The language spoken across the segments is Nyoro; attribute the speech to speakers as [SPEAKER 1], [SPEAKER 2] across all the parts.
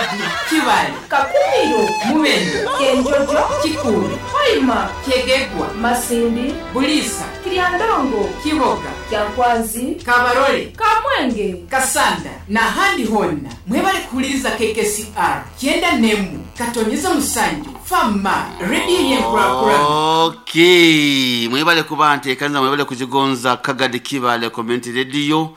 [SPEAKER 1] Kagadi, Kibaale,
[SPEAKER 2] Kakumiro,
[SPEAKER 1] Mubende,
[SPEAKER 2] Kyenjojo,
[SPEAKER 1] Kikuube,
[SPEAKER 2] Hoima,
[SPEAKER 1] Kyegegwa,
[SPEAKER 2] Masindi,
[SPEAKER 1] Buliisa,
[SPEAKER 2] Kiryandongo,
[SPEAKER 1] Kiboga,
[SPEAKER 2] Kyankwanzi,
[SPEAKER 1] Kabarole,
[SPEAKER 2] Kamwenge,
[SPEAKER 1] Kasanda n'ahandi honna. Mwebale kuwuliriza KKCR 91.7 Fama rediyo y'enkulakulana.
[SPEAKER 3] Okay, mwebale kuba nteekaniza, mwebale kugigonza Kagadi Kibaale Community Radio,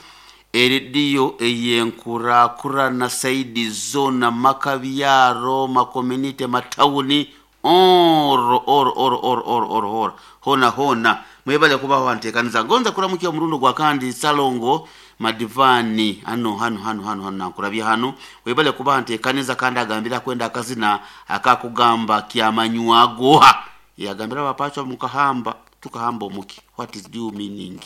[SPEAKER 3] erediyo eyenkurakurana saidi zona, makabyaro, makomunite, matawuni, oro oro oro oro oro oro oro hona hona. Mwebale kuba wanteekaniza. Ngonza kuramukia omurundo gwa kandi Salongo Madivani hano hano hano hano hano nankurabya hano. Webale kuba nteekaniza kandi agambira kwenda akazina akakugamba kyamanywagoha yagambira abapacho mukahamba tukahamba omuki, what is due meaning?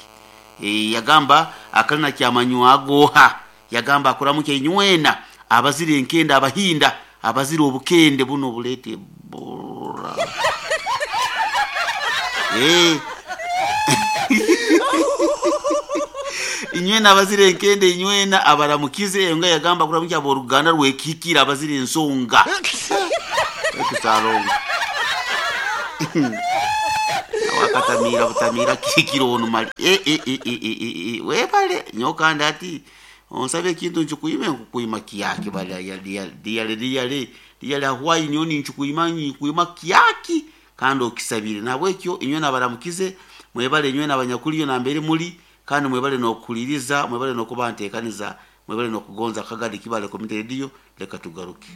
[SPEAKER 3] E, yagamba akalina kyamanywagoha, yagamba akuramukia inywena abazira enkende, abahinda abazira obukende buno bulete bora. Eh. Inywena abazira enkende, inywena abaramukize. Enga yagamba kuramukia aboruganda rwekikira abazira ensonga ekisalongo wakatamira butamira kikiro ono mali. E, e, e, e, e, e, e. Webale nyokanda ati onsabe ekintu nchikuime nkukuima kiyaki bali liyale liyale liyale ahwai nyoni nchikuima nkuima kiyaki kandi okisabire. Nabwekyo inywe nabaramukize, mwebale inywe nabanyakuliyo nambere muli, kandi mwebale nokuliriza, mwebale nokuba nteekaniza, mwebale nokugonza Kagadi Kibaale Community Radio. Leka tugaruke.